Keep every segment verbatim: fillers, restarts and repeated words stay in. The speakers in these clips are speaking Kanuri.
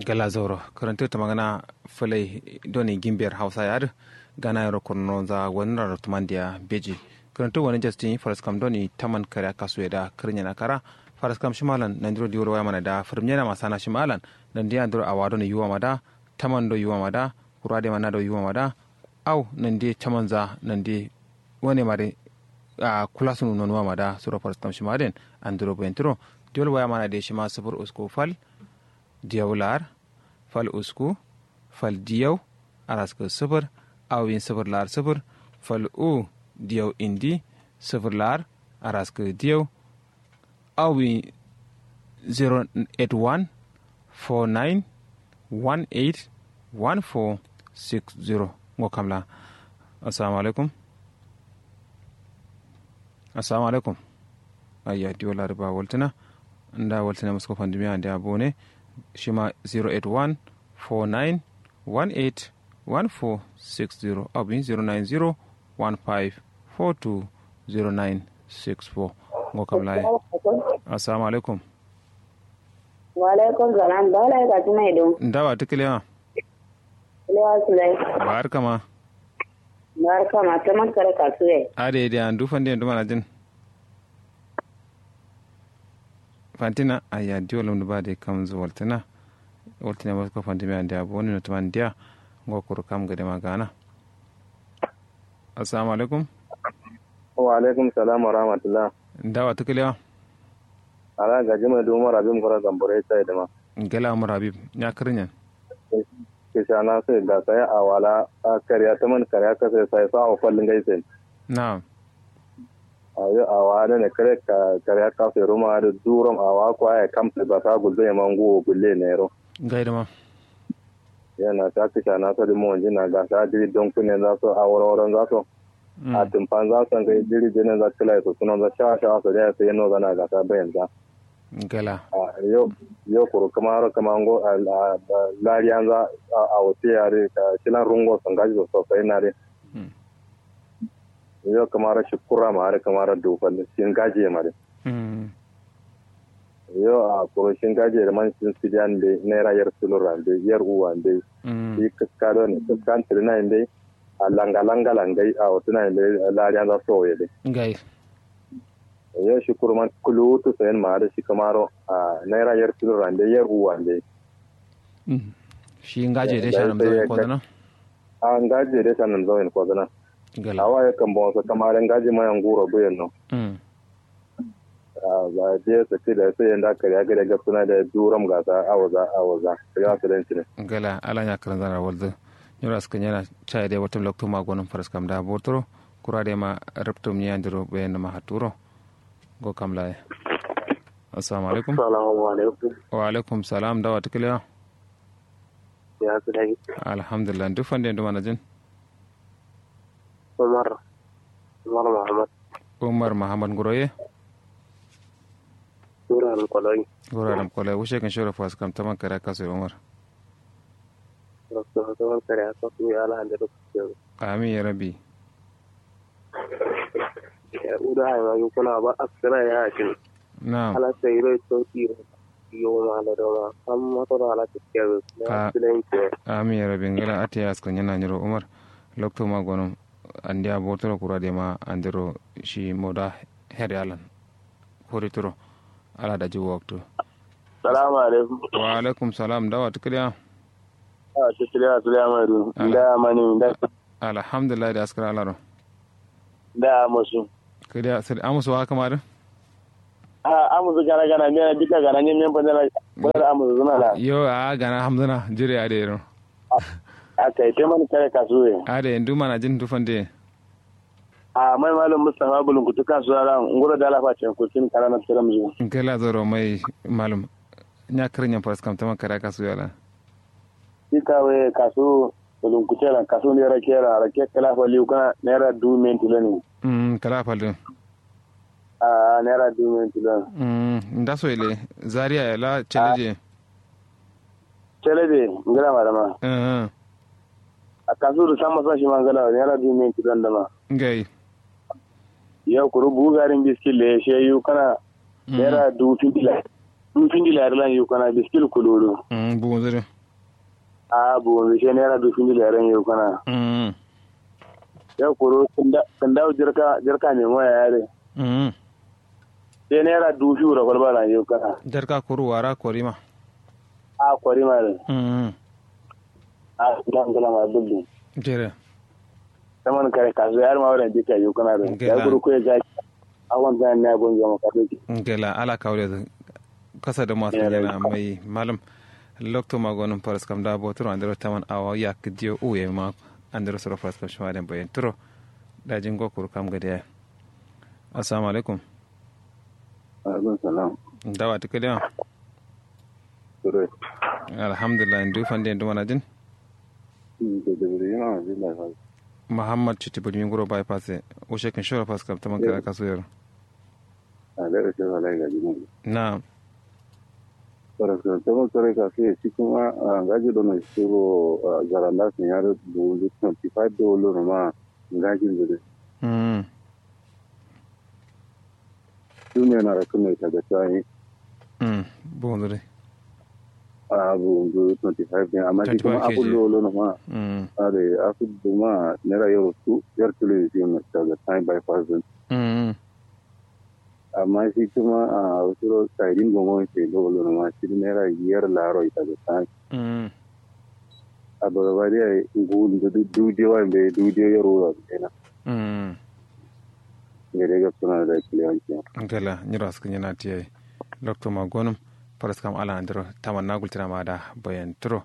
Gala zauro kǝrǝntǝ tǝmangǝna fǝlai done gimber hausa ye adǝ gana yero kurno za wanǝ rarrabtǝ mandiya beji. Kǝrǝntǝ wanǝ jastin faraskam done taman kare akasu ye da kǝrǝnyena kara. Faraskam shima lan nandiro diwol waya mana da fǝrǝmnyena ma sana shima lan nandi andiro awa done yuwa ma da taman do yuwa ma da kuru adai ma nado yuwa ma da. Au nande camanza nande wane mare. A kula sunu nonuwa ma da suro faraskam shima den andiro bayantǝro. Diwol waya mana de shima sufur usku fal diyau lar fal usku fal diyau araskǝ sufur. Au yin sufur lar sufur fal u diyau indi sufur lar araskǝ diyau. Au wi zero eight one four nine one eight one four six zero. Ngo kamla. Assalamu alaikum. Assalamu alaikum. Ayya diwo lari ba waltǝna. Nda waltǝna musko fandimiya nda bone. Shima zero eight one four nine one eight one four six zero abin zero nine zero one five four two zero nine six four. Ngo kam layi. Assalamu alaikum. Wa alaikum salam. Ba lai ka tuna ido. Nda wa tukile ma. Lewa sulai. Barka ma. Barka ma taman kare kasuwe. Ade ade an dufan de duma na jin. Fantina ayya diwo lum dǝ ba dai kamzǝ waltǝna. Waltǝna masko fantimiya ndia boni notǝma ndia. Ngo kuru kam gade ma gana. Assalamu alaikum. Wa alaikum salam wa rahmatullah. Nda wa tukǝlewa. Ala gaji mai duma rabim kura gambore sai dama. Gala umar habib nya kǝrǝnyen. Kǝshana sai da sai awala. Kariya taman kariya kasai sai sa ofal ngai sai. Na'am. Ayo awa done kare kare aka sai ruma da durom awa ko aya kam sai ba sa gulbe ma nguwo gulle ne ro. Ngai dama. Yana ta kisha na so dimo jina ga sa diri don kunne za so a woro woro za so. A tumfan za so ngai diri jene za kila so sunan za sha sha so da sai no zana ga sa bayan za. Gala. Yo yo kuru kamaro kamango lariyan za a wote yare shilan rungo so ngaji so sai na re. Yo kamaro shi kura ma are kamaro dufal shin gaje ma re. Yo a kuro shin gaje da man shin sidiyan be naira yar sulura be yar uwa be. Shi kaska do ne kaskan tirina be. A langa langa langai a wotuna be lariyan za soye be. Ngai. Yo shi kuru man kulutu sayan ma are shi kamaro a naira yar sulura be yar uwa be. Shi ngaje de shanan zaune ko zana. A ngaji de sanan zawin ko zana. Awa ya kan bon so kamare ngaji ma yan guro buyen no. Ba de so ti da so yanda kare ga de gapsuna da duram ga sa awaza awaza ya so den tine. Gala ala nya karan zana walzu. Nyura suka nyana chai de watum loktu ma gonum faras kam da botoro kura de ma ruptum nya ndiro be na ma haturo. Go kam laye. Assalamu alaikum. Assalamu alaikum. Wa alaikum salam dawa tukiliya. Ya su dai. Alhamdulillah duk fande duma na jin. Umar. Umar muhammad. Umar muhammad nguroye. Guraram koloi. Guraram koloi wushe kan shoro fas kam taman kare kasu umar. Rasu taman kare kasu ya ala hande duk. Amin ya rabbi. Uda haima yu kuna ba askara ya hakin. Na'am. Ala sai ro to tiro. Yo ma la do ma amma to ala tikke. Amin ya rabbi ngala ati askara nyana nyiro umar. Lokto ma gono. Andiya botoro kura de ma andiro shi moda. Her yalan. Hori turo. Ala da ji waktu. Salamu alaikum. Wa alaikum salam dawa tukliya. Dawa tukliya. Sulaiman du nda mani nda. Alhamdulillah da askara alaro. Da amusu. Kadiya sir amusu wa kamar. A amusu gana gana me na bika gana nyen men fandana. Bala amusu zuna la. Yo a gana hamzuna jire a de ro. A kai te man kare kasuwe. A de ndu mana jin du fande. A mai malum mustafa bulun kutu kasuwa la nguro da la fa cen kutin kala na tiram zu. Nkela zoro mai malum. Nya kirin yan faras kam taman kare kasuwe la. Ita we kasu. Bulun kutela kasu nera kera ara ke kala fa liu kana nera du men tilani. Mm kala fa liu. A nera du men tilani. Mm nda so ile zaria la cheleje. Cheleje ngala marama. Mm. A kasu du sama sa shi mangala nera du men tilani dama. Ngai. Yau kuru bugarin biskit le she yu kana nera du fintila. du findi lari lan yukana biskil kuludu. Buwunzu dǝ. Ahh buwunzu she naira du findi lari lan yukana. Yo kuru kǝndawu jirka jirka memo yayi adǝ. She naira du fiwu ra falba lan yukana. Jirka kuru wara korima. Ahh korima dǝ. Ahh ngla ngla ma dubbu. Jere. Taman kare kasu yar ma wuren dika yukana dǝ. Yayi kuru kuye gaki. Awon zan ne abun zama kadoki. Ngela ala kawure dǝ. Kasa dǝ masu yana mai malum. Loktu ma gonum faras kam da boturo andero taman awa yak diyo uye ma. Andero soro faras kam shima den bayen turo. Daji ngo kuru kam gade ya. Assalamu alaikum. Alaikum salam. Dawa tukaliya. Alhamdulillah ndu fande ndu manajin. Muhammad citi bulmi nguro bypass e. Ushe kin shoro faskam taman kara kasu yero. Na'am. Faskam taman kara kasu yero shi kuma ngaji dono shiro. Zaranda sun yaro dubu twenty five dolo no ma ngaji dole. Duniya na rakun mai taga tsayin. Buwunzu dai. A buwunzu twenty five din amma shi kuma abu lolo na ma. Are asu duma naira yaro su yar tulu yin fiye na taga tsayin bypass din. Amma shi kuma a wasu ro sairin gongon sai lolo na ma shi naira yar laro ita ga tsayin. Abagabadiya ngu ndu du diyo wa mbe du diyo yaro wa mbe na. Ngede gab suna da kiliyan kiyan. Ngala nyiro askǝ nyina tiye. Lokto ma gonum. Faras kam ala andiro taman na gultina ma da bayan turo.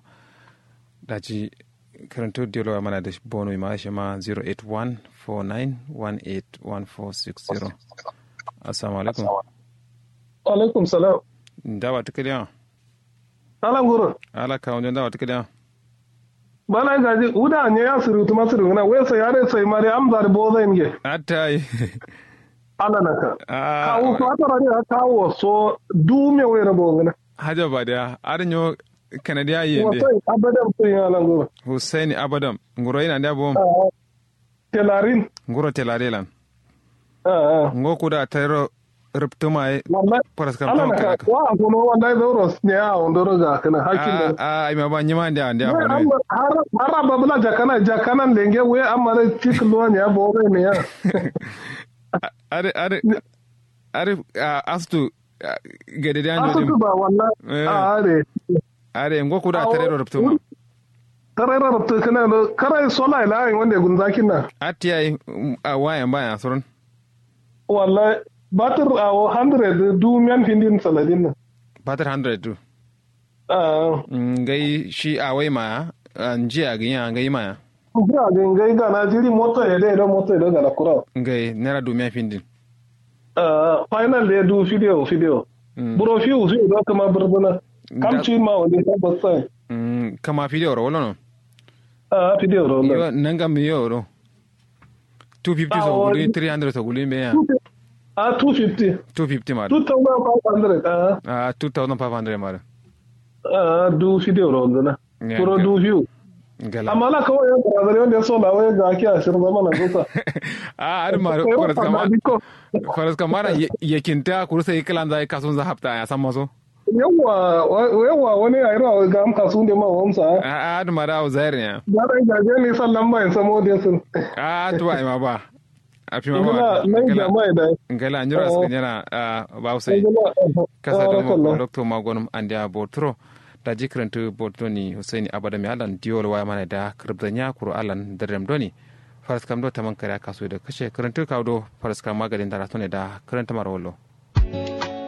Daji karanto diyo lo mana da bono ma shi ma zero eight one four nine one eight one four six zero. Assalamu alaikum. Alaikum salam. Dawa tukaliya. Ala nguro. Ala kawo njo ndawa tukiliya. Bala gaji uda nya ya suru tuma suru ngana we sai are sai mare amza da boza inge. Atai. Ala naka. Kawo so ata rani a kawo so du me we rabo ngana. Haja ba da ar nyo kanadiya yende. Wasai abadan sun ya ala nguro. Husaini abadan nguro ina da bom. Telarin. Nguro telare lan. Ngo kuda tayro ruptuma ye. Wallahi. Paraskam ala tama naka kala ka wa kono wallahi zauro ne ya ondoro ga kana hakkin da. A ai ma ba nyima ndia ndia. Har har babula jakana jakana lenge we amma da cik lo ne ya bore ne ya. Are are are astu gade da ndio. Astu ba wallahi. Are are ngo kuda tayro ruptuma. Tarera rabta kana do karai sola ila ai wande gunza kinna. Atti ai a waya baya surun. Wallahi batir a hundred du miyan findin saladin na. Batir hundred du. Ah. Ngai shi a wai ma njiya ga ya ngai ma. Njiya ga ngai ga na jiri moto ya dai do moto ya do ga na kura. Ngai nera du miyan findin. Final de du fidiyo fidiyo. Buro fiwu fiwu do kama burbuna. Kam ci ma wani tabbas sai. Kama fidiyo ro wala no? Ah fidiyo ro wala. Nanga mi yo ro. Two fifty so guli three hundred so guli me ya. Ah two fifty. Two fifty ma. Two thousand five hundred ah. Ah two thousand five hundred ma. Ah du fidiyo ro wala. Kuro du fiwu. Amma la kawai yan barazari wanda ya so lawai ga ake ashirin zama na gusa. A adin ma faras kama faras kama na yakinta kuru sai kalan zai kasun za hafta ya san maso. Yawwa yawwa wani ya ira ga am kasun da ma wamsa. A adin ma da zair ne. Zarai ga je ni sallan ba in samo da sun. A tuwa ma ba. Afi ma ba ngala nyura su nyana. Ba usai kasa da mu lokto magonum andiya botro. Daji kǝrǝntǝ botu doni husaini abada mi allan diwol waya mana da kǝrǝbzanya kuru allan dǝrdǝm doni. Faraskam do taman kare aka so da kashe kǝrǝntǝ kawo do faraskam magadin da ratone da kǝrǝntǝ maro wallo.